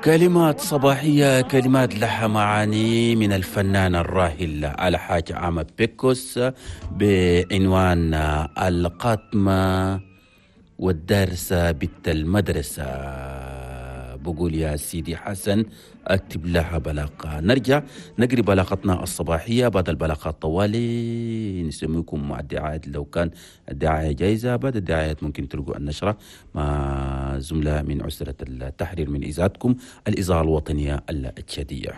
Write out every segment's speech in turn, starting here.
كلمات صباحية، كلمات لها معاني من الفنان الراحل الحاج عامر بيكوس بعنوان القاتمة والدارسة بنت المدرسة. بقول يا سيدي حسن اكتب لها بلاغة. نرجع نقري بلاغتنا الصباحية بعد البلاغات طوالي، نسميكم مع الدعايات لو كان الدعاية جايزة. بعد الدعايات ممكن تلقوا النشرة مع زملاء من عسرة التحرير من إذاعتكم الإذاعة الوطنية التشادية.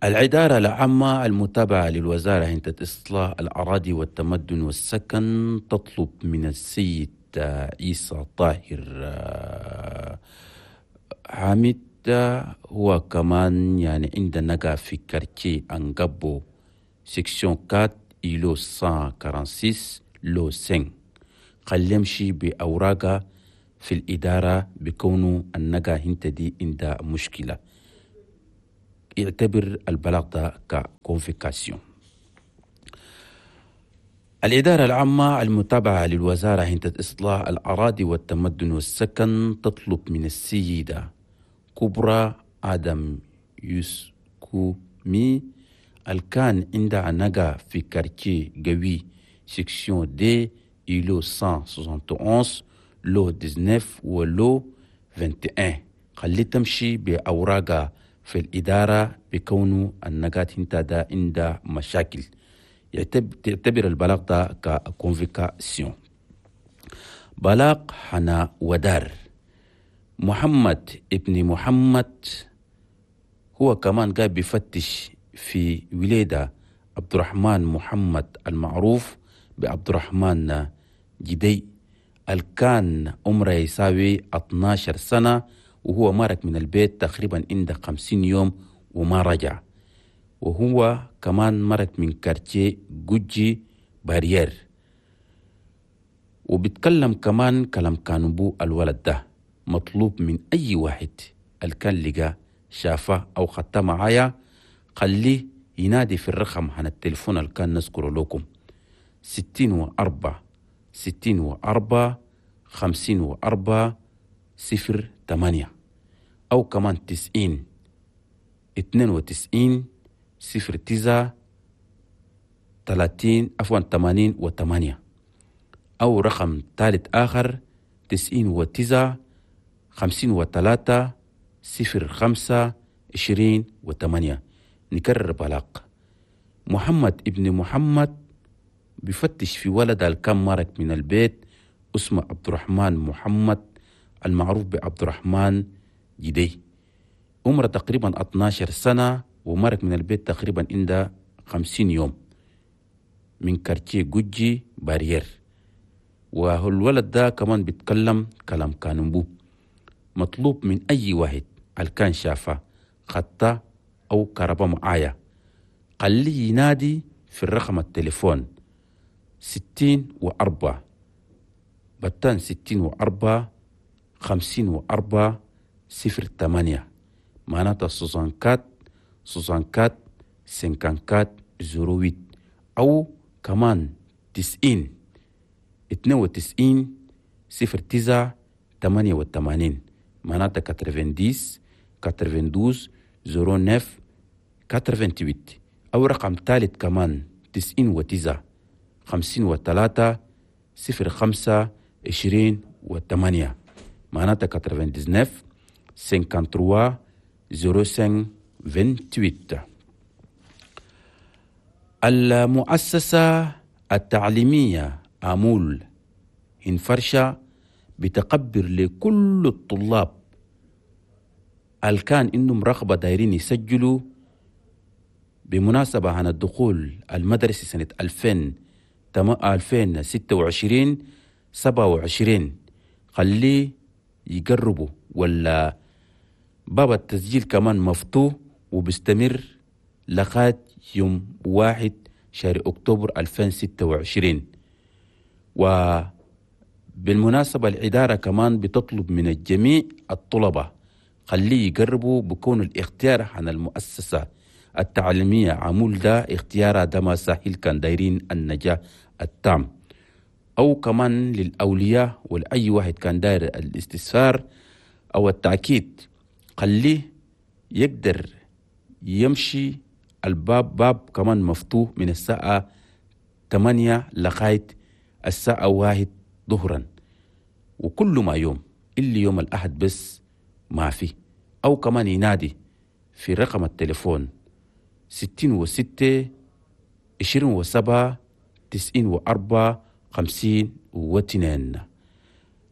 الإدارة العامة المتابعة للوزارة هنتة إصلاح الأراضي والتمدن والسكن تطلب من السيد عيسى طاهر حامد، هو كمان يعني عندنا نقا في quartier أنقبو section 4 îlot 146 lot 5، خلي يمشي بأوراقه في الإدارة بكونه النقا هنت دي عندها مشكلة، يعتبر البلاغ ده ك convocation. الإدارة العامة المتابعة للوزارة هنتة إصلاح الأراضي والتمدن والسكن تطلب من السيدة كبرى آدم يسكومي الكان عندها نقا في quartier قوي section deux îlot 171 lot 19 و lot 21، خلي تمشي بأوراقها في الإدارة بكونه النقات انت ده عندها مشاكل، تعتبر البلاغ ده ك convocation. بلاغ حنا ودار محمد ابن محمد، هو كمان قاعد بيفتش في وليدة عبد الرحمن محمد المعروف بعبد الرحمن جدي، الكان عمره يساوي 12 سنة، وهو مارك من البيت تقريبا عند 50 يوم وما رجع، وهو كمان مرك من quartier جوجي barrière، وبيتكلم كمان كلام كانبو. الولد ده مطلوب من أي واحد الكان لقى شافه أو خدته معايا خليه ينادي في الرقم عن التليفون اللي كان نذكره لكم 64 64 54 08، أو كمان 90 92 09 30 عفوا 88، أو رقم ثالث آخر 99 53 05 28. نكرر بلاغ محمد ابن محمد بفتش في ولد الكم مرك من البيت اسمه عبد الرحمن محمد المعروف بعبد الرحمن جدي، عمره تقريبا 12 سنة ومرك من البيت تقريبا عند 50 يوم من quartier جوجي barrière. والولد ده كمان بيتكلم كلام كانبو. مطلوب من أي واحد الكان شافه خطة أو كهرباء معايا خليه ينادي في الرقم التليفون 64 بتان 64 54 08، معناتها 64 64 54 08، أو كمان 90 92 09 88، معناتها 90 92 09 88، أو رقم ثالث كمان 99 53 05 28، معناتها 99 53 05 28. المؤسسة التعليمية أمول إنفرشة بتقبر لكل الطلاب الكان إنهم رغبة دايرين يسجلوا بمناسبة عن الدخول المدرسي سنة 2026 27، خليه يقربوا ولا باب التسجيل كمان مفتوح وبيستمر لغاية يوم 1 شهر أكتوبر 2026. وبالمناسبة الإدارة كمان بتطلب من الجميع الطلبة خليه يقربوا بكون الاختيار عن المؤسسة التعليمية عمول ده اختيارها ده ما سهل كان دايرين النجاح التام. أو كمان للأولياء ولأي واحد كان داير الاستفسار. أو التأكيد خليه يقدر يمشي. الباب باب كمان مفتوح من الساعة 8 لغاية الساعة 1 ظهرا، وكل ما يوم إلا يوم الأحد بس ما في. أو كمان ينادي في رقم التليفون 66 27 94 52.